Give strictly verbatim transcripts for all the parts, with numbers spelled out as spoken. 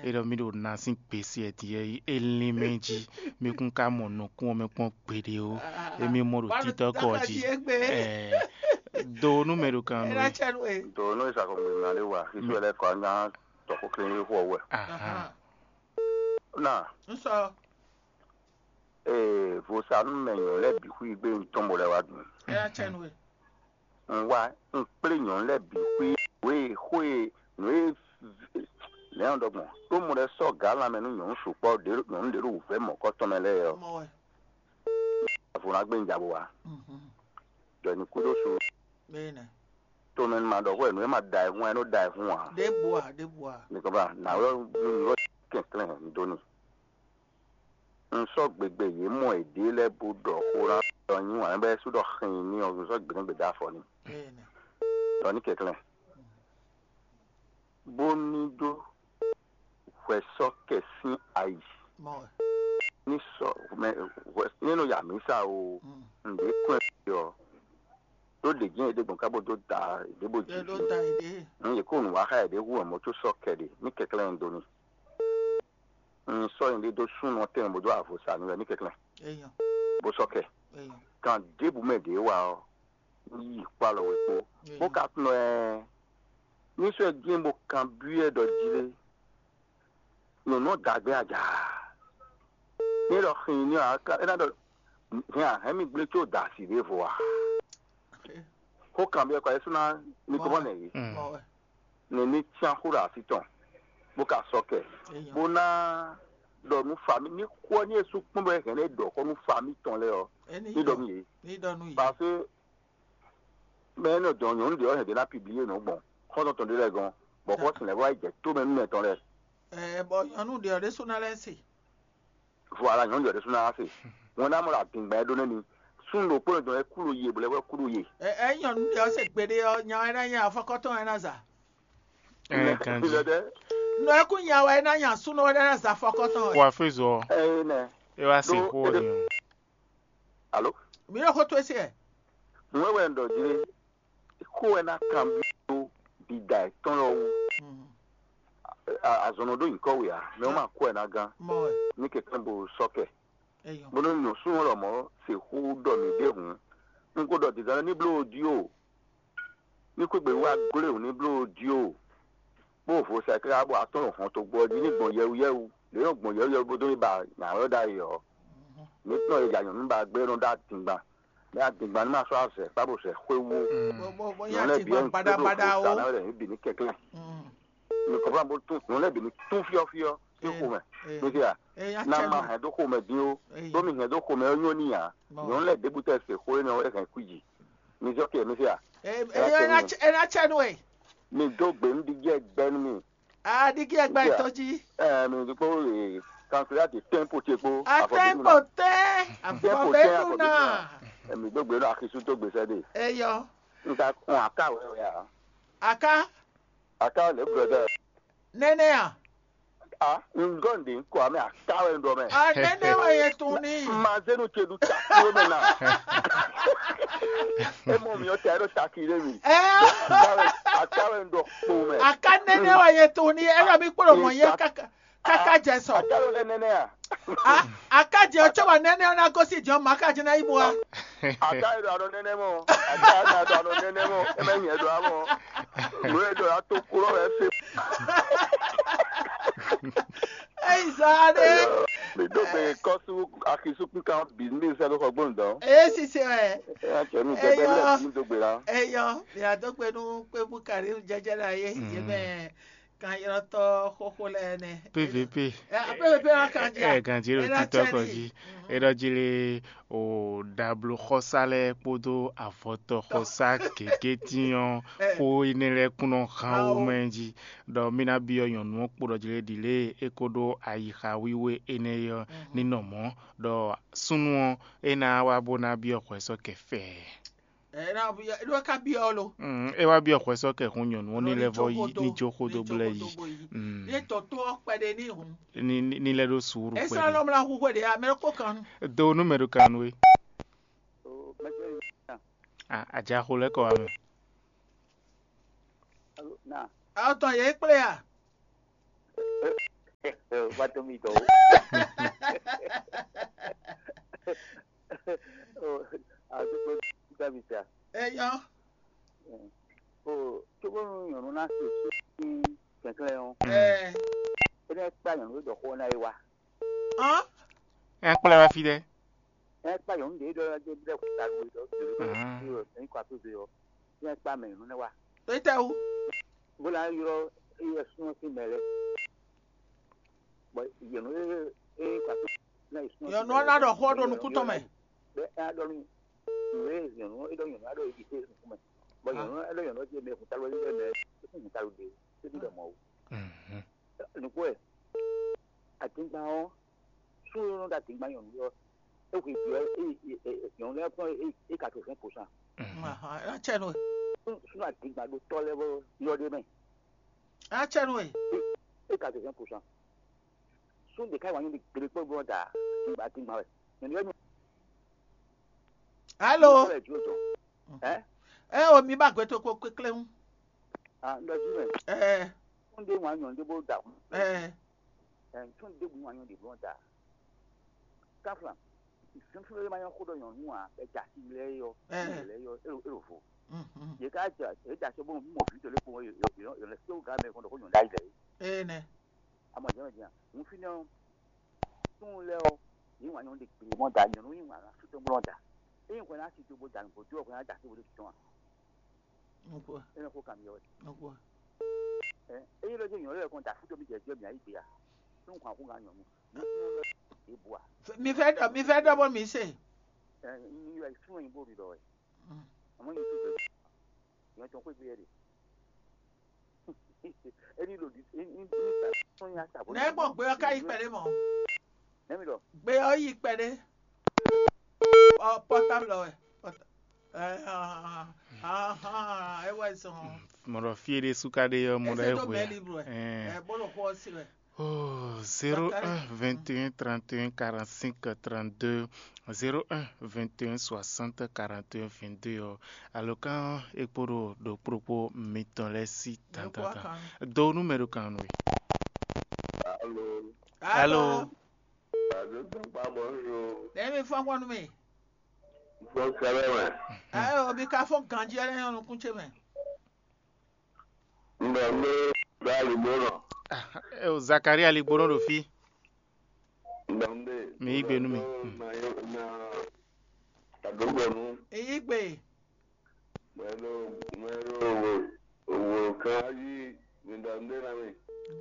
é ɖɔ mì ɖo na sín gbesi e din e é lín mɛ jí, mì kún ka mɔ nukún ɔ́ mɛ kpɔ́n gbeɖé ó. Émí mɔ ɖo títɔ́ kɔ jí. Ɛɛ, do nú mɛ ɖo kan nú é. Do nú ìsàkó gbè ná lé wa, xísú ɛ lɛ kɔ anyá tɔxó kléwé xó ɔ́ wɛ. Ahán. Na, ee, vodúnú mɛ nyɔ̌nu lɛ́ɛ bǐ xwí gbé un tɔn bó lɛ́ wá dun. Ɛ yá cɛ nú we. Un wá, un kplé nyɔ̌nu lɛ́ɛ bǐ xwí wě xó e nǔ e lɛ̌n ɖɔgbɔn ɖó mɔ lɛ́ɛ sɔ́ gǎ lanmɛ nú nyɔ̌nu sukpɔ́ ɖě nyɔ̌nu ɖě ɖo wǔvɛ́ mɔ̌kɔ́tɔn mɛ lɛ́ɛ ɔ́. Mɔ wɛ. Avɔ ná gbé un ja bó wá. Mhm. Ɖɔ ní kú ɖó su. Bẹ́ẹ̀ nà. Tomɛ ma ɖɔ hwɛ nǔ e ma da ɛ hún ɛ nɔ da ɛ hún ǎ. Ɖěbǔ a, ɖěbǔ a. Ní kɔ bá nà wɛ nú nǔ kɛnklɛ́n un dó ni. Un sɔ́ gbegbe yě mɔ yěɖée lɛ́ɛ bó ɖɔ xó ná ɖɔ nyi wǎn bɛ́ sú ɖɔ xin ní ɔ́, un sɔ́ gbě nú gbědá afɔ ni. Bẹ́ẹ̀ nà. Ɖɔ ní kɛnklɛ́n. Bó ní ɖó hwɛsɔ́kɛ sín ayi. Mɔ wɛ. Ní sɔ mɛ hwɛ ní nɔ ya mǐsa o, Mm. Nǔɖé kún ɛ ɔ, ɖó ɖě jɛ́n é ɖé gbɔn ká bó dó da ɖěbǔ Ɛ jí. Ɖó da yě ɖe. Ní yě kó nǔ wá xá yě ɖé hu ɔmɔ có sɔ́ kɛ ɖe ní kɛnklɛ́n un dó ní. Un sɔ́ nyɛ ɖé dó súnnu ɔ́ tɛnmɛ bó dó avo sa nú wɛ ní kɛnklɛ́n. Eyɔn. Bó sɔ́ kɛ. Eyɔn. Kan ɖěbǔ mɛ ɖě wá ɔ́, ní yi kpó alɔ wɛ kpó. Eyɔn. Bó ka tunɔ ɛ ní sɔ́ ɛ dín bó kanbyɔ́ ɛ ɖɔ jí lé. Nǔnɔ dǎgbé aja. Ní ɖɔ xin ní ɔ́, é ná ɖɔ hɛn a hɛn mi gblé có da asi ɖěvo a? Xó kanbyɔ́ kɔ é sú ná ní kó mɔ nɛ yě. Mm. Mɔ wɛ. Ní ní cyán xó ɖo así tɔn, bó ka sɔ́ kɛ, Eyɔn. Bó ná ɖɔ nú fami ní xó ɔ́ ní e sú kpɔ́n bɔ é hɛn é ɖɔ xó nú fami tɔn lɛ́ɛ ɔ́, Ɛ ní ní ɖɔ yɔ. Nú yě. Ní ɖɔ nú yě. Parce que mɛ énɛ́ dɔn nyɔ̌nu ɖě ɔ́ hɛn ɖě ná pibliye nǔ gbɔn xɔ́ntɔn tɔn ɖé lɛ́ɛ gɔ́n, bɔ xɔ́sin lɛ́ɛ vɔ yi jɛ tó mɛ nú mɛ tɔn lɛ́ɛ. Ɛ bɔ nyɔ̌nu ɖě ɔ́ ɖésú ná lɛ́ se. Voilà, nyɔ̌nu ɖě sú ná se. Wɛn ná mɔ ɖo adǐngba e ɖó nɛ́ mi. Súnnu ɖokpó e dɔn e kú ɖo ye, bɔ lɛ́ wɛ kú ɖo ye. Ɛ ɛ nyɔ̌nu ɖě ɔ́ se gbeɖé ɔ́, nya wɛ ná nya afɔkɔ́tɔn wɛ ná za. Ɛ ganji. Lɛdɛ. Nɔ ɛ kú nya wɛ ná nya súnnu wɛ ná za afɔkɔ́tɔn wɛ. Kó afézɔ. Ɛ nɛ. E wá se Ɖó xó ɔ́ éɖé- ni o. Alo. Mi ɖo xó tó e se ɛ. Nǔ wɛ wɛ un ɖɔ jí lé. Xó wɛ ná kanbyɔ́ ɖo ɖiɖa yětɔn lɔ wú. Mm. A- Azɔnɔ ɖó nyǐkɔ we ǎ, mɛ wọ́n ma kó ɛ ná gán. Mɔ wɛ. Ní kɛkɛ́ bo sɔ́ kɛ. Eyɔn. Bó nú nǔsúnú lɔ mɔ̌ se xú ɖɔ mǐ ɖěhǔn. Un ko ɖɔ dǐndɔ́n ní bló jí o. Ní xwé gbe wá glé wǔ ní bló jí o. Bó vo sɛ káká bɔ atɔ́n ɖo hɔn togbó ɔ́ jí ní gbɔn yɛwuyɛwu. Lě nɔ gbɔn yɛwuyɛwu bó dó ní ba nyǎ wɛ ɖ'ayǐ ɔ́. Mǐ tɔn e ya nyɔ̌nu ba gbé nɔ ɖó adingban. Mɛ adingban ní ma sɔ́ azɛ kpá bó sɛ xwé wú. Bó bó bó Nyɔ̌nu yá lɛ́ɛ ti bǐ gbɔn ɔ́ ní gbadabada gbéɖo o. Sǎ ná wɛ lɛ̌ ní bǐ ní kɛnklɛ́n. Mm. Mi kɔn fún bó tún nyɔ̌nu lɛ́ɛ bǐ ní tún fyɔ́fyɔ́ ní Ee, xomɛ. Ee. Mi se a? Ee, ya Ná cɛ ma nɔ. Hɛn dó xomɛ dín ó. Ee. Bó mi hɛn dó xomɛ ɔ́ nyɔ́ n'i ǎ. Bɔn. Nyɔ̌nu lɛ́ɛ ɖěbǔ tɛ se xó énɛ́ ɔ́ é hɛn kú jǐ. Mi se ɔ́ kɛ mi se a? Ee, Ɛ ee, é ná cɛ- é ná cɛ nú we. Mi dó gbe nú ɖiɖi gbɛ nú mi. A ɖigi ẹgbẹ́ Ìgbà. Tó jí. Ẹ mi kpó kankilati tẹ́ńpù ce kpó. Atẹ́ńpò tẹ́ Tẹ́ńpù tẹ́ àfọ̀bẹ́nu náà. Ẹ mi dó gbe nú akisu tó gbèsè dé. Eyɔ. Nka kún aká wẹ̀ wẹ̀ a. Aká. Aká lè brọ̀dá. Nẹ́nẹ́ à. A ngɔn de nkɔ ame aká wẹ̀ ndɔ mɛ. A nẹ́nẹ́ wẹ̀ yẹ tún ní. Mazenu ce du takuro mɛ na. E mɔ mi o tɛ ɖo takire mi. Ɛ. Aká wẹ̀ ndɔ kpo mɛ. Aká nɛnɛ wɛ yɛ to ni, ɛ lɔ mi kplɔ mɔ yɛ kaka kaka jɛ sɔ. Aká lɔ lɛ nɛnɛ a. A aká jɛ o tsɔ wa nɛnɛ o na gosi jɔ ma aká jɛ na yi bo wa. Aká yɛ do anɔ nɛnɛ mɔ. Aká yɛ do anɔ nɛnɛ mɔ. Ɛ mɛ nyɛ do amɔ. Mo yɛ do ato kplɔ wɛ se. Eyi zɔ aɖe. Mi do gbe kɔsu akisukun kan business alo xɔ gbɔn dɔn. Eye sise wɛ. Ɛ cɛ mi gbɛgbɛ lɛ mi do gbe la. Eyɔ, mia do gbe nu kpe bu kari jɛjɛ la ye, ye mɛ kan yɔrɔ tɔ xoxo lɛ nɛ. P V P. Ɛ, P V P wa kan ja. Ɛ ganji lo titɔ kɔ ji. Eɖɔ ji le o dablo xɔsa lɛ kpódó avɔtɔ xɔsa gěgé tinyɔ xó énɛ́ lɛ́ɛ kún nɔ hán wo mɛ jí. Ɖɔ mí ná byɔ́ nyɔ̌nu ɔ́ kpo ɖɔ jlé ɖi lě e é ko ɖó ayixa wíwé énɛ́ é ɔ́ ní nɔ mɔ̌, ɖɔ súnnu ɔ́ é ná wá bó ná byɔ́ hwɛ̌ sɔ́ kɛ fɛɛ. Ɛ ná byɔ́, é ɖó ká byɔ́ lo. Mm, é wá byɔ́ hwɛ̌ sɔ́ kɛ hun nyɔ̌nu ɔ́ ní lɛ́ vɔ yi ní jó xó dó blɛ́ yi. Mm. Ní tɔ tó ɔ́ kpɛɖé ní hun. Ní ní- ní lɛ́ ɖó suúru É kpɛɖé. Sá lɔmlá hu hwe ɖě amɛ kó kan nu. Do nú mɛ ɖo kan nú we. O mɛsɛ. Ah, àjàxo lɛ́ kɔ wá mɛ. Alo na. Ɔtɔn yě kplé a? Wá tó mi dɔn o. Àdúgbò dábì ta. Eyɔn. O tó bónú nyɔ̌nu ná se sí kɛnklɛ́n ɔ́, ɛ é ná kpá nyɔ̌nu e ɖɔ xó ɔ́ ná é wá. Hɔn. Ɛ kplɔ́ wá fí ɖɛ́. Ɛ kpá nyɔ̌nu ɖě ɖɔ ɖe ɖe kúta ɖo ɖɔ ɖo ɖo ní kɔ atóze ɔ́, é ná kpá mɛ nyɔ̌nu nɛ́ wá. Étɛ́wú? Bó ná ylɔ́ éyɛ́ súnmọ́ sín mɛ lɛ́ɛ. Bɔ nyɔ̌nu e e kɔ atóze ná yi súnmọ́ sín Nyɔ̌nu mɛ ɔ́ ná lɛ́ɛ ɖɔ xó ɔ́ ɖo nukún tɔn mɛ. Bɛ é ná ɖɔ nú nǔ e nyɔ̌nu e ɖɔ nyɔ̌nu ná ɖɔ é ɖi xó nukún mɛ. Bɔ nyɔ̌nu e ɖɔ nyɔ̌nu ɔ́ ɖi mɛ kúta lɔ é ɖɔ mɛ é kún kúta lɔ ɖe é ɖi ɖɔ mɔ̌ ó. Nǔgbó wɛ, adingban ɔ́, sú e nɔ ɖo adingban nyɔ̌nu ɔ́, é hwe vǐ ɔ́, nyɔ̌nu lɛ́ɛ kpɔ́n é quatre-vingts pour cent. Ahan, é ná cɛ nú we. Sú adingban ɖo tɔ́ lɛ́ɛ bɔ yɔ ɖ'é mɛ, É ná cɛ nú we. É quatre-vingts pour cent. Sú ɖě ká wǎ nyí ɖi gbeɖé kpɔ́n gbɔn da adingban adingban wɛ. Nyɔ̌nu ɔ́ nyɔ̌nu Alo. Ɔ́ wɛ jǒ dɔn. Ɛ? Ɛ o, mi ba gbɛ to kpo kpékpléhún. Ah, un ɖɔ jí mɛ. Ɛ. Tún ɖé wǎn nyɔ̌nu ɖé bó da. Ɛ. Ɛ, tún ɖé wǎn nyɔ̌nu ɖé bó da. Káfla, fúnfún lé ma nyɔ́ xó ɖɔ nyɔ̌nu ǎ, bɛ ja sí lɛ́ɛ yɔ, Ɛ. Lɛ́ɛ yɔ, é ɖo é ɖo vo. Mhm. Yě ká ja é ja sɛ́ bónú mɔ vǐ tɔn lé kpowun yɔ yɔ yɔ lɛ sɛ́wó gǎ mɛ kɔn ɖɔ xó nyɔ̌nu ɖ'ayǐ lɛ́ɛ. Ene. Amɔ jɛ́n jɛ́n, un fínɛ́ ɔ́, súnnu lɛ́ɛ ɔ́, yě wǎn nyɔ̌nu ɖe gbě mɔ́ da, nyɔ̌nu yí wǎn ná sú tɔn blɔ́ da. Ényí hwɛ ná si do bó da nǔgbó dó ɔ́, hwɛ ná da sí bó ɖo títɔn a? Nukú. É nɔ xó kan mi ɔ́ wɛ. Nukú. Ɛ, ényí lɔ jẹ́ nyɔ̌nu lɛ́ɛ kɔn da fúdo mi jɛ jɛ mi ayí gbe a? Nú hwan xó kan nyɔ̌nu. Nú súnnu lɛ́ɛ é bu a? Mi fẹ́ dɔ mi fẹ́ dɔ bó mi se. Ɛ, ní yɔ súnnu yín bó ɖi ɖɔ wɛ. Mm. Àmọ́ yín tó bẹ̀rẹ̀. Ìyẹn tó ń pè bí ẹ rè. Ẹni lòdì ní ní ní ní ní ní àtàbọ̀. Nɛ gbɔn gbe ɔ ka yi kpɛɖé mɔ. Nɛmi lɔ. Gbe ɔ yi kpɛɖé. Ɔ pɔtabl ɔ wɛ. Pɔta- ɛ, ahan, ahan, ɛ wɛ zɔn. Mɔɖɔ fie ɖe suka ɖe yɔ mɔɖɔ Ese do ɛhwe. Mɛ libre wɛ. Ɛn. Ɛ bolo xɔ si wɛ. Oh, zéro un vingt et un trente et un quarante-cinq trente-deux, zéro un vingt et un soixante quarante et un vingt-deux ɔ, alɔkan e kpo ɖo ɖokpó ɖokpó mitɔn lɛ́ɛ sí tantantan. Do nú mɛ ɖo kan nú we. Alo. Alo. Ado tɔn kpa bɔ nyo. Ɖe mi fɔn kpɔn nú mi. Fɔn kɛlɛ mɛ. Ayo, mi ka fɔn ganji ɛlɛ nyɔ nukún ce mɛ. Ndɔ ndé ɖo aligbónɔ. Ah, eh, Zakaria aligbónɔ ɖo fí. Ndɔ ndé. Mi yí gbe nú mi. Na na adogbɔnu. Èyí gbe. Mɛ ɖo mɛ ɖo wo wo kan yí mi ndɔ ndé na mi.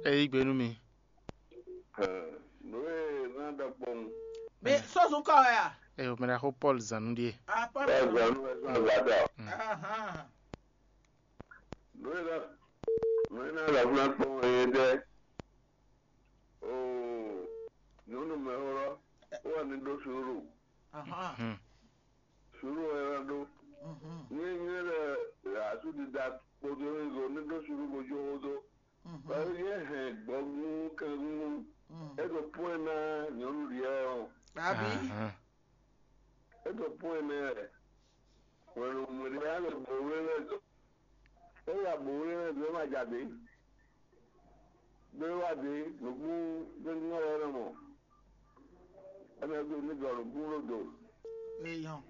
Ẹ yí gbe nú mi. Nú e na ɖɔ kpɔn. Mi sɔ́sùn kɔ wɛ a? Ẹ o mɛ ɖaxó Paul zanu ɖie. Ah, Paul. Ɛ zanu ɛ zan gbada. Ahan. Nú e ná nú e ná ɖo ablá kpɔ́n wɛ é ɖɛ́. Oo, nyɔ̌nu mɛxó ɔ́, ó wà ní ɖó suúlu. Ahan. Hmm. Suúlu wɛ é ná ɖó. Mhm. Ní nyɔ̌nu lɛ asúdida kpódó é zo ní ɖó suúlu bó jó xó dó. Mhm. Bɔ é hɛn gbɔgún kɛngún. Mhm. É ɖo pɔ́n ɛ ná nyɔ̌nu lǐɛ ɔ́. Àbí? Ahan. É ɖo pɔ́n ɛ mɛ wɛ. Hwenu mǐɖé ná lɛ gbɔgún é lɛ́ɛ dó. É ya bǒ wlí nɛ́ dó é ma ja dě. Ɖó é wá dě nǔkún gbɛ́ngbɛ́n wɛ é nɔ mɔ. É nɔ ɖo ní gɔ̌ nǔkún ɖo do. Eyɔn.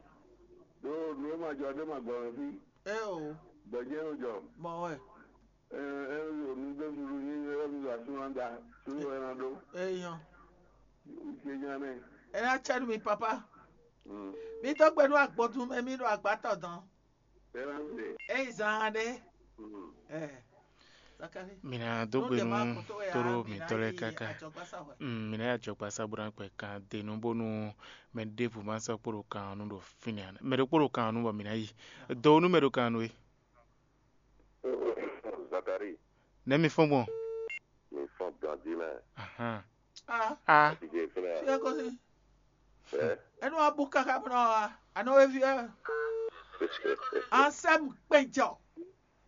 Ɖó nǔ e ma jɔ ɖé ma gbɔ mɛ fí. É o. Gbɛ̌jɛ́ nɔ jɔ. Mɔ wɛ. Ɛ ɛ ɖo nǔ dó suɖu nyí ɛ ɖo asúnɔ da suɖu wɛ ná ɖó. Eyɔn. Ṣe nya nɛ. Ɛ ná cɛ nú mi papa. Mm. Mi dó gbe nú agbɔdun mɛ mi ɖo agbátɔ dán. Ɛ ná se. Eyi zan ɖé. Mm. Ɛ. Zakari. Mina dó gbe nú toro mǐtɔn lɛ́ɛ káká. Mm, mina yi ajɔgbasa bó ná kpɛ kan denu bónú mɛ ɖěbǔ ma sɔ́ kpó ɖo kan ɔ́ nu ɖo fínɛ́ ǎ. Mɛ ɖokpó ɖo kan ɔ́ nu bɔ mǐ ná yi. Do nú mɛ ɖo kan ɔ́ nu é. Zakari. Nɛ̌ mi fɔ́n gbɔn? Mi fɔ́n ganjí mɛ. Ahán. Ah. Ah. Ti jɛ fúnra. Fi ẹ kó sí. Ɛ. Ẹnu wa bú káká bó ná wa. Àná wé fi ẹ. Ansẹ́mu péjọ.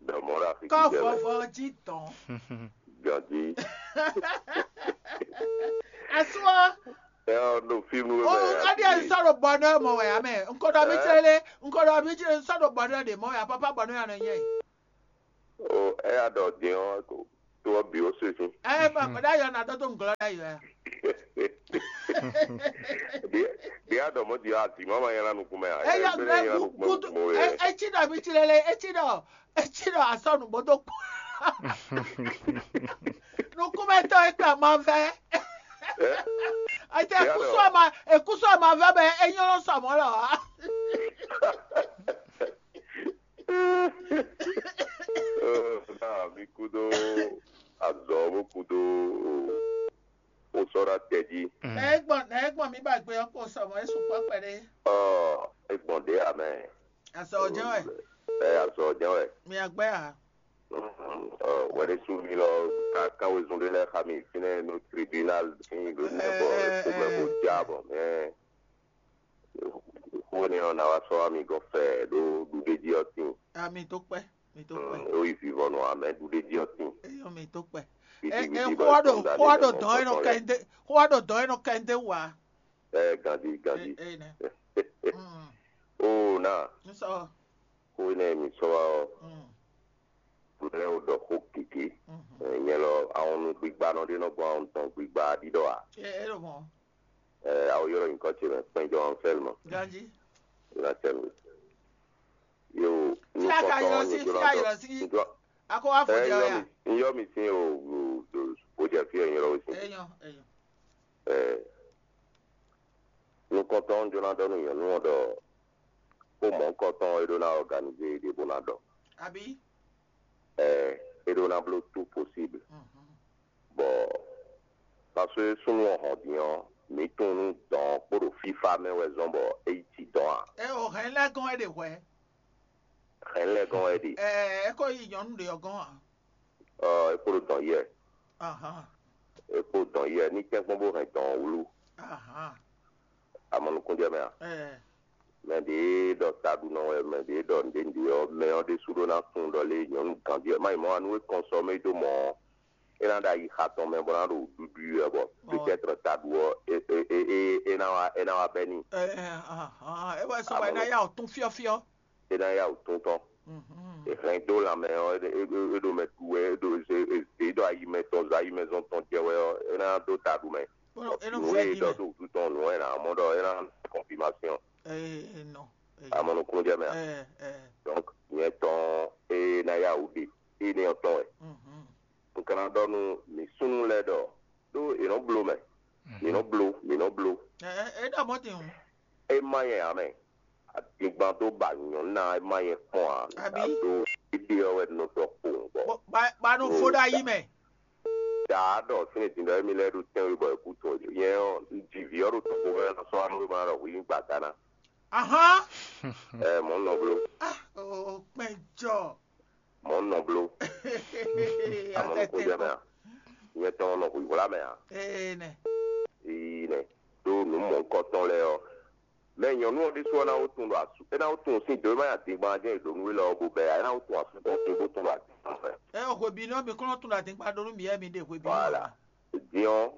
Dɔmɔ la fi Kɔ jijɛ mɛ. Vɔvɔ jí dɔn. Ganjí. Asúwọ́. Ɛ ɔ no fíìmù O mɛ. Adi ɛ sɔ̀rọ̀ bɔnɛ mɔ wɛ amɛ. Nkɔdɔ mi Ɛ? Tsele, nkɔdɔ mi tsele sɔ̀rọ̀ bɔnɛ de mɔ wɛ apapa bɔnɛ anɔ nyɛ. O ɛ ya dɔ din ɔ ko. to ɔ́ bǐ ó se sín. Ɛ ma kɔ ɖ'ayɔ na dɔ to ŋgɔlɔ ɖ'ayɔ ya. Ɖě ɖě a ɖɔ mɔ̌ din ɔ́, azǐ má ma nylá nukún mɛ ǎ. Eyɔ Ɛgbɛ́ nɛ nylá nukún mɛ gudu mo e. Etsi ɖɔ mi tsi lele etsi ɖɔ etsi ɖɔ asɔ nǔgbó dó kpó. Nukúnmɛtɔ́ e kpa ma vɛ. Ɛ Ete ɖě a ɖɔ ekusu ama ekusu ama vɛ bɛ enyɔ́ sɔ mɔ̌ lɔ ǎ. Náà mi kúdó azɔ bó kúdó o sɔ́ ɖá tɛ jí. Nɛ e gbɔn nɛ e gbɔn mi ba gbe ɔ́ kpo sɔ mɔ̌ e sukpɔ́ kpɛɖé. Ɔ é gbɔn ɖě ǎ mɛ. Azɔ ɔ́ jɛ́n wɛ. Ɛ azɔ ɔ́ jɛ́n wɛ. Mi agbɛ́ a? Ɔ wɛɖésú mi lɔ ka kan wezun ɖé lɛ́ɛ xa mi fínɛ́ nú tribunal sín ɖo nɛ bɔ Ɛ, ɛ, xomɛ bó ɛ, já ɛ. Bɔ mɛ xó énɛ́ ɔ́ ná wá sɔ́ wá mi gɔ́ fɛ ɖó ɖuɖéjí ɔ́ tíin. Ami tó kpɛ́, mi tó kpɛ́. Ó yi vivɔnu amɛ ɖuɖéjí ɔ́ tíin. Eyɔn mi tó kpɛ́. Ɛ Vidi ɛ vidi xó bɔ wá ɖo xó wá ɖo dɔn ɛ nɔ kɛ ndé xó wá ɖo dɔn ɛ nɔ kɛ ndé wá. Ɛ gandi gandi. Ɛ ɛ nɛ. Ó na N sɔ. Xó énɛ́ mi sɔ́ wá ɔ́, Mm. Lɛ́ wó ɖɔ xó gěgé. Mhm. Nyɛ lɔ ahɔnnu gbigbanɔ ɖé nɔ gbɔn ahɔn tɔn gbigba ɖiɖɔ ǎ. Ɛ ɛ ɖo mɔ. Ɛ awo ylɔ́ nyǐkɔ ce mɛ kpɛnjɔ ɔn fɛ́lmɔ. Ganji. Ylɔ́ tɛ mi. Yo, Fia ka nukɔntɔn ylɔ si, fia ylɔ si. Akɔ wá fɔ Ɛ jɛ yɔ ya. Mi yɔ mi sín o o o o jɛ fí ɛ nyɔlɔ wé sín. Eyɔn eyɔn. Ɛ nukɔntɔn jɔ ná ɖɔ nú nyɔ̌nu ɔ́ ɖɔ xó mɔ̌hunkɔtɔn e ɖó ná organize ɖě bó ná ɖɔ. Abi. Ɛ é ɖó ná bló tout possible. Mhm. Bɔ parce que súnnu ɔ́ hɔn din ɔ́, mǐ tunwun nú dɔn ɔ́ kpo ɖo fífá mɛ wɛ zɔ́n bɔ é yi ci dɔn a? Ɛ o hɛn lɛ́ gɔ́n é ɖe hwɛ̌. Hɛn lɛ́ gɔ́n wɛ é ɖe. Ɛ é ko yi nyɔ̌nu ɖě ɔ́ gɔ́n ǎ. Ɔ é kpo ɖo dɔn yɛ. Ahan. É kpo dɔn yɛ ní tɛ́nkpɔ́n bó hɛn dɔn ɔ́ wlú. Ahan. Amɔ nukúnjɛ mɛ a? Ɛ Mɛ ɖě ɖɔ taɖunɔ wɛ, mɛ ɖě ɖɔ nǔɖé nǔɖé ɔ́, mɛ ɔ́ ɖésú ɖó ná tunwun ɖɔ lé nyɔ̌nu ganjí ɔ́ má yi mɔ̌ anu é kɔn sɔ mɛ é dó mɔ ɔ́, é ná ɖo ayixa tɔn mɛ bó ná ɖo ɖuɖu wɛ bɔ Ɔ. Peut-être taɖu ɔ́ é é é é é ná wá é ná wá bɛ́ n'i. Ɛ ɛ ahan é wɛ sɔ wɛ ná yá ɔ tún fyɔ́fyɔ́. É ná yá wǔ tún tɔn. Mhm. È hɛn dó lanmɛ ɔ́, é é é ɖo mɛ ɖu wɛ, é ɖo é é ɖo ayi mɛ tɔn zɔ ayi mɛ zɔn tɔn jɛ wɛ ɔ́, é ná dó ta ɖu mɛ. Bɔn é nɔ Nǔ vɛ e di ɖɔ mɛ. Dó wútu tɔn nǔ ɔ́, é ná mɔ ɖɔ é ná confirmation. Ee nɔ. Amɔ nukúnnú jɛ mɛ a? Ɛ ɛ. Donc nyɛ tɔn é ná yá wǔ ɖe, é nɛ́ ɔ́ tɔn wɛ. Mhm. Un ka ná ɖɔ nú mǐ súnnu lɛ́ɛ ɖɔ ɖó è nɔ bló mɛ, mǐ nɔ bló, mǐ nɔ bló. Ɛ ɛ é ɖɔ mɔ̌ din o. É má nyɛ ǎ mɛ. Adingban dó ba nyɔ̌nu ná é má nyɛ kpɔ́n ǎ. Abǐ? Ɖó éɖée ɔ́ wɛ nɔ dɔ kpowun bɔ. Bɔ ba ba nɔ fó ɖo ayi mɛ. Daa ɖɔ fínɛ́ din ɖɔ émí lɛ́ɛ ɖo tɛ́nwe bɔ è kú tun nyɛ ɔ́, un ji vǐ ɔ́ ɖo tɔxo mɛ nɔ sɔ́ anú ma ɖɔ hwi nyí gbada ná. Ahán. Ɛ mɔ̌ nɔ bló. Ah, o kpɛn jɔ. Mɔ̌ nɔ bló. Amɔ nukún jɛ mɛ a? Nyɛ tɔn nɔ hwǐhwlá mɛ a? Ee nɛ. Ee nɛ. Ɖó nǔ mɔ̌hunkɔtɔn lɛ́ɛ ɔ́, mɛ nyɔ̌nu ɔ́ ɖésú ɔ́ ná wó tun ɖo asú é ná wó tun sín dǒ é má nyí adingban jɛ́n è ɖǒ nú we lɔ ɔ́ bó bɛ́ ǎ, é ná wó tun asú tɔn sín bó tun ɖo adingban mɛ. Ɛ xwe bi nɔ mi kɔn tun ɖo adingban ɖó nú mi yɛ mi ɖe xwe bi nɔ. Voilà. Din ɔ́,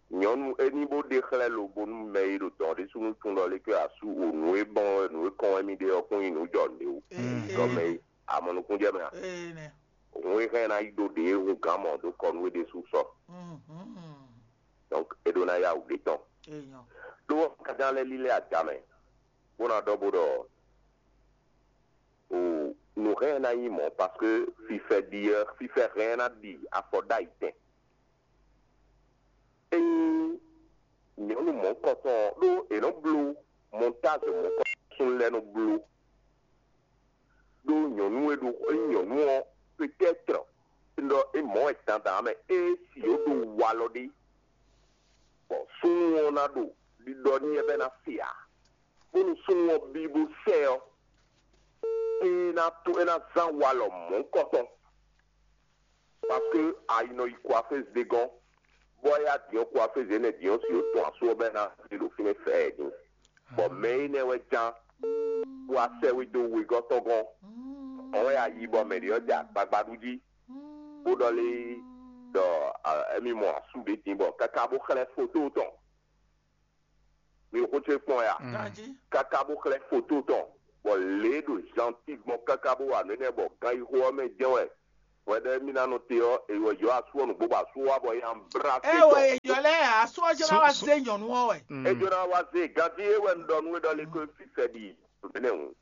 nyɔ̌nu é ní bó ɖe xlɛ́ lobo nú mɛ e ɖo dɔ̌n ɖésú nú tun ɖɔ lé ké asú o nǔ e bɔn wɛ nǔ e kɔn wɛ mi ɖe ɔ́ kún nyí nǔ jɔ nǔ o. Ee. Gɔmɛ e amɔ nukún jɛ mɛ a? Ee nɛ. Hun e hɛn ná yi ɖó ɖě e hun gǎn mɔ ɖó kɔ nú é ɖésú sɔ. Mhm. Donc é ɖó ná yá wǔ ɖé tɔn. Ee nyɔ. Ɖó kájá lɛ́ lílɛ́ adamɛ bó ná ɖɔ bó ɖɔ o nǔ hɛn ná nyí mɔ̌ parce que fifɛ ɖi ɔ́ fifɛ hɛn ná ɖi afɔ ɖ'ayǐ tɛn. Ényí nyɔ̌nu mɔ̌hunkɔtɔn ɔ́ ɖó è nɔ́ bló mɔtáze mɔ̌hunkɔtɔn súnnu lɛ́ɛ nɔ bló ɖó nyɔ̌nu e ɖo ényí nyɔ̌nu ɔ́ peut-être ɖɔ é mɔ̌ wɛ dandan mɛ é si yǒ ɖo walɔ ɖé bɔ súnnu ɔ́ ná ɖo ɖiɖɔ n'i wɛ bɔ é ná se ǎ. Bónú súnnu ɔ́ bí bó sɛ ɔ́, é ná tó é ná zán walɔ mɔ̌hunkɔtɔn. Parce que a yi nɔ yi coiffeuse ɖé gɔ́n, bɔ é yá din ɔ́ coiffeuse énɛ́ din ɔ́ si ó tɔn asú ɔ́ bɔ é ná zé ɖo fínɛ́ fɛ́ ɛ din. Bɔ mɛ énɛ́ wɛ ján bó wá sɛ́ wé dó wegɔ́ tɔn gɔ́n. Ɔ́n wɛ a yi bɔ mɛ ɖě ɔ́ jɛ agbagba ɖu jí, bó ɖɔ lé ɖɔ émí mɔ asú ɖé din bɔ káká bó xlɛ́ foto tɔn. Mi ɖo xó ce kpɔn ya? Ganjí. Káká bó xlɛ́ foto tɔn, bɔ lě e ɖo zanti gbɔn káká bó wa nǔ énɛ́ bɔ ganxixo ɔ́ mɛ jɛ́n wɛ Hwɛɖɛmíná nɔ te ɔ́, è wɔ yɔ asú ɔ́ nǔgbó bɔ asú ɔ́ wá bɔ é nya blá Ɛ o, tɔn. Èyɔ lɛ́ɛ asú ɔ́ jɛ ná wá zé nyɔ̌nu ɔ́ wɛ. Ejó ná wá zé ganjí é wɛ un ɖɔ nú we ɖɔ lé ko fífɛ́ ɖi nɛnɛ hǔn.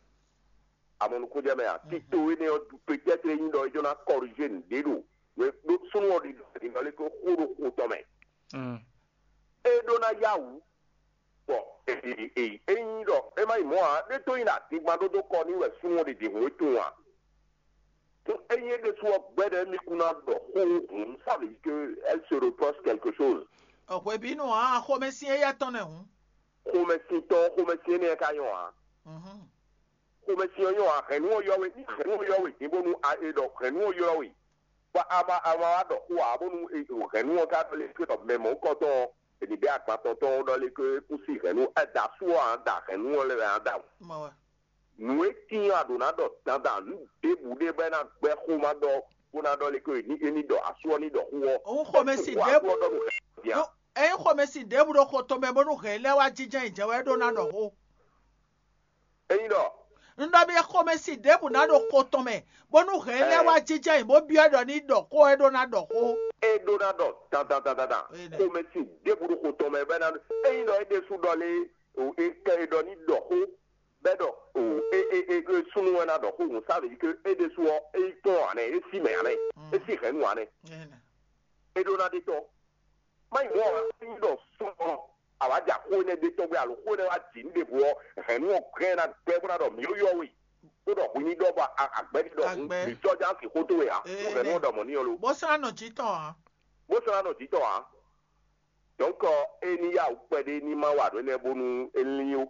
Amɔ nukúnjɛ mɛ a? Tito énɛ́ ɔ́, peut-être é nyí ɖɔ é jɔ ná corriger nǔɖé ɖo we ɖó súnnu ɔ́ ɖi ɖɔ lé ko xó ɖo xo tɔn mɛ. É ɖó ná yá wǔ. Bɔ ényí ɖɔ é má nyí mɔ̌ ǎ, ɖé tó nyí ɖo adingban ɖó dó kɔ n'i wɛ súnnu ɔ́ ɖi ɖi hǔn é tunwun ǎ. Ényí é ɖésú ɔ́, gbɛ́ ɖɔ émí kún ná ɖɔ xó hǔn, ça veut dire que elle se reproche quelque chose. Hwebǐnu ǎ, xomɛsin éyɛ́ tɔn nɛ́ hǔn. Xomɛsin tɔn, xomɛsin énɛ́ ka nyɔ́ ǎ. Xomɛsin ɔ́ nyɔ́ ǎ, hɛ̌nnu ɔ́ ylɔ́ we, ní hɛ̌nnu ɔ́ ylɔ́ we din bónú a e ɖɔ hɛ̌nnu ɔ́ ylɔ́ we. Bɔ a ma a ma wá ɖɔ xó ǎ bónú hɛ̌nnu ɔ́ ka ɖɔ lé xwé ɖɔ mɛ mɔ̌hunkɔtɔn ɔ́, è nǐ bɛ́ agban tɔn tɔn ɔ́ ɖɔ lé xwé kún sí hɛ̌nnu ɛ da asú ɔ́ ǎ da hɛ̌nnu ɔ́ lɛ́ wɛ ǎ da. Nǔ e tíin a ɖǒ ná ɖɔ dandan nǔ ɖěbǔ ɖé bɔ é ná gbɛ́ xó ma ɖɔ bó ná ɖɔ lé xwé ní é ní ɖɔ asú ɔ́ ní ɖɔ xó ɔ́. Òun xomɛ sin ɖěbǔ. Ɖɔ nǔ hɛ̌nnu ɔ́ bia. Ényí xomɛ sin ɖěbǔ ɖo xo tɔn mɛ bónú hɛ̌nnu lɛ́ɛ wá jínjɔ́n yi jɛ wɛ é ɖó ná ɖɔ xó. Ényí ɖɔ. Un ɖɔ mi xomɛ sin ɖěbǔ ná ɖo xo tɔn mɛ, bónú hɛ̌n lɛ́ɛ wá jínjɔ́n ayǐ bó byɔ́ ɖɔ ní ɖɔ xó ɛ ɖó ná ɖɔ xó. É ɖó ná ɖɔ dandan dandan dan. Xomɛ sin ɖěbǔ ɖo xo tɔn mɛ bɔ é ná ɖɔ. Ényí ɖɔ é ɖésú ɖɔ lé, o é kɛ é ɖɔ ní ɖɔ xó, bɔ é ɖɔ o é é é é súnnu wɛ ná ɖɔ xó hǔn sá lǒ yi ké é ɖésú ɔ́, é yi tɔn ǎ nɛ́, é sí mɛ ǎ nɛ́, é sí hɛ̌nnu ǎ nɛ́. É ɖó ná ɖe tɔ́. Má nyí mɔ̌ ǎ, é nyí ɖɔ súnnu ɔ́, a wǎ ja xó énɛ́ ɖe tɔ́gbɛ́ alo xó énɛ́ wá jǐ nú ɖěvo ɔ́, hɛ̌nnu ɔ́ glɛ́n ná gbɛ́ bó ná ɖɔ mǐ yɔ́ we, bó ɖɔ hwi ní ɖɔ bɔ agbɛ́ ní ɖɔ hǔn mǐ sɔ́ já sin xó towe ǎ, nú hɛ̌nnu ɔ́ ɖɔ mɔ̌ n'i ɔ́ lo. Bó sɔ́ ná nɔ jǐ tɔn ǎ. Bó sɔ́ ná nɔ jǐ tɔn ǎ. Dɔ̌nkɔ é ní yá wǔ kpɛɖé ní má wa nǔ énɛ́ bónú é lín ó.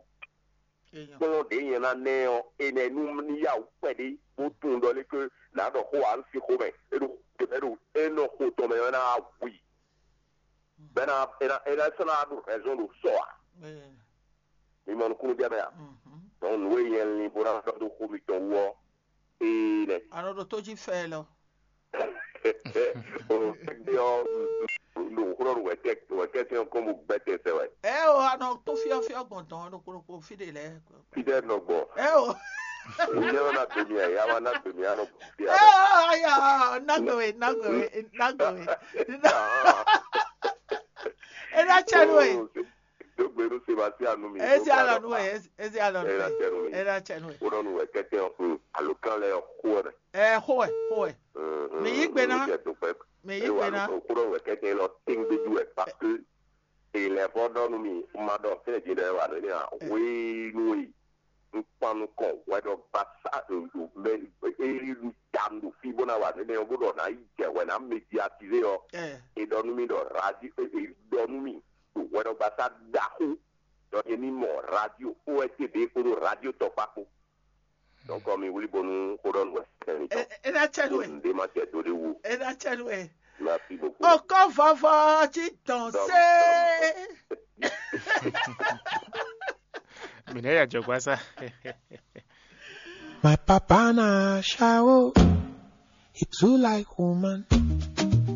Kplɔ́n ɖě nyɛ ná ná ɛ ɔ́, énɛ́ nú ní yá wǔ kpɛɖé bó tunwun ɖɔ lé ké nǎ ɖɔ xó ǎ, un sín xó mɛ. É ɖo é ɖo é nɔ xo tɔn mɛ ɔ́, é ná wá hu i. Bɔ é ná é ná é ná sɔ́ ná wá ɖo hɛ̌nzɔ́n ɖo sɔ ǎ. Mi mɔ nukúnnú jɛ mɛ a? Dɔn nǔ e nyɛ lin bó ná ɖɔ dó xó mitɔn wú ɔ́, ee nɛ. A nɔ ɖo tó jí fɛ lɔ. O tɛgbɛ ɔ, ɖo xlɔ́ ɖo wɛtɛ wɛtɛtɛ ɔ́ kɔn bó gbɛtɛ sɛ wɛ. Ɛ o, a nɔ tó fyɔ́fyɔ́ gbɔn dɔn ɖokpó ɖokpó fí ɖe lɛ́ɛ. Fidɛ nɔ gbɔ. Ɛ o. Nyɛ ɔ́ ná do mi aya wa ná do mi anɔ gbɔ fia. Ɛ o, aya nagbe we nagbe we nagbe we. Ena cɛ nu we. Dogbe nu Sebastian nu mi. Ezi alɔ nu we, ezi alɔ nu we. Ena cɛ nu we. Wodɔ nu wɛ kɛtɛ ɔkun alo kan lɛ ɔkun wɛ. Ɛ xo wɛ xo wɛ. Mi yí gbe ná. Mi yí gbe ná. Wodɔ nu wɛ kɛtɛ lɔ tɛngbɛju wɛ parce que èlè fɔ dɔ nu mi ma dɔ fɛn jin dɛ wa ne ne a wéé nu yi. N kpan nukɔn hwɛɖɔgbasá ɖo mɛ eri ɖu ta ɖo fí bó ná wa nɛnɛ ɔ́ bó ɖɔ ná yi jɛ hwɛ ná médiatizé ɔ́. È ɖɔ nú mì ɖɔ radio è ɖɔ nú mì ɖo hwɛɖɔgbasá ɖaxó ɖɔ è ní mɔ radio O R T V kpódó radio tɔkpá kpó. Donc mi wlí bónú xó ɖɔ nú wɛ sɛn mi tɔn. Ena cɛ nu ɛ. Nde ma cɛ do ɖe wu. Ena cɛ nu ɛ. Merci beaucoup. Ɔkɔ vɔvɔ ci dɔn se. Mine ya jogwa sa. My papa na shawo. He too like woman.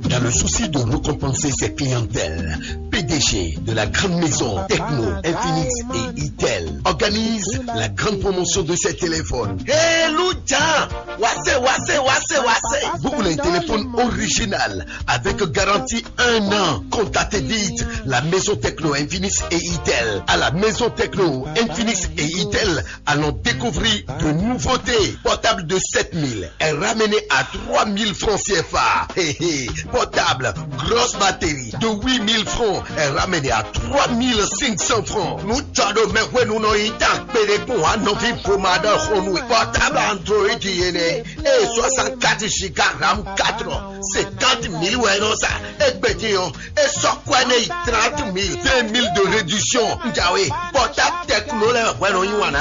Dans le souci de récompenser ses clientèles, P D G de la grande maison Techno, Infinix et Itel organise la grande promotion de ses téléphones. Hey, Louja! Wassé, wassé, wassé, wassé! Vous voulez un téléphone original avec garantie un an? Contactez vite la maison Techno, Infinix et Itel. À la maison Techno, Infinix et Itel, allons découvrir de nouveautés. Portable de sept mille est ramené à trois mille francs C F A. Hé, hé. Portable, grosse batterie de huit mille francs est ramené à trois mille cinq cents francs. Nous tchado me hwe nous no ita pele pour un novi pomada honui. Portable Android yene et soixante-quatre giga RAM quatre, cinquante mille ouais non ça. Et petit on et so quoi ne trente mille, deux mille de réduction. Njawe, portable techno le ouais non yuana.